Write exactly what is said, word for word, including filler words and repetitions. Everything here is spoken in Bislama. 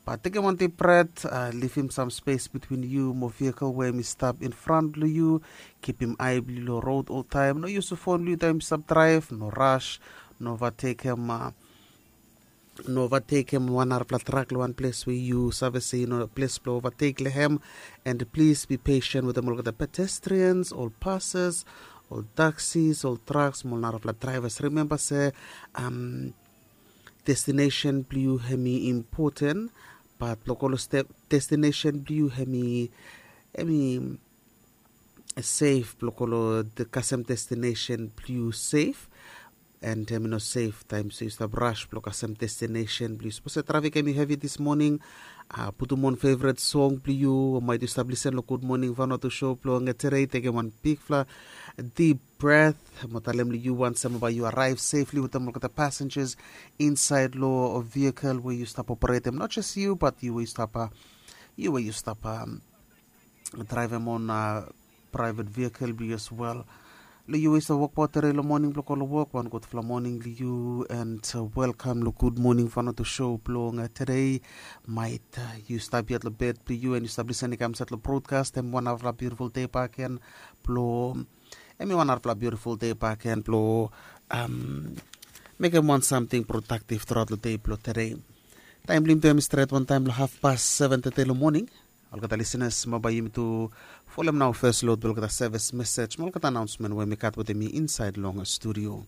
But tekem wan dip bret, lifim sam spes between yu mo vehikel we em i stap in front blong yu. Kipim ai blong yu long rod oltaem. No yusim fon blong yu taem yu stap draev. No ras. No ovatekem no ovatekem wan narapela trak long wan ples we yu save se i no ples blong ovatek long hem. And plis bi pesen wetem olgeta pedestrians, ol pases, ol taksis, ol traks mo ol narapela draivas. Rimemba se um, destinesen blong yu hem i impoten. Bat blong go long destinesen blong yu hem i hem i sef blong go long kasem destinesen blong yu sef. And hem i no sef taem so yu stap ras blong kasem destinesen blong yu. Sapos se trafik hem i hevi dis moning, putum on fevret song blong yu o maet yu stap lisen long gud moning vanotu sho blong tedei. Tekem wan bigfala dip bret mo talem long yu wansem bai yu araev sefli wetem olgeta pasenjas insaed long vehikel we yu stap operetem, not jes yu bat yu we yu stap yu we yu stap draevem on praevet vehikel blong yu as wel. Long yu we yu stap wokbaot tedei long moning blong go long wok, wan gudfala moning long yu and welkam long gud moning vanotu sho blong tedei. Maet yu stap yet long bed blong yu and yu stap lisen i kam insaed long brodkas, hem wan narafala biutiful dei baken blong hem i wan narafala biutiful dei baken blong mekem wan samting prodaktif truaot long dei blong tedei. Taem blong yumi tu hem i stret wantaem long hafpas seven teti long moning. Olgeta lisenas, bambae yumi tu folem nao fes lod blong olgeta sevis mesej mo olgeta anaonsmen we mi gat wetem mi insaed long studio.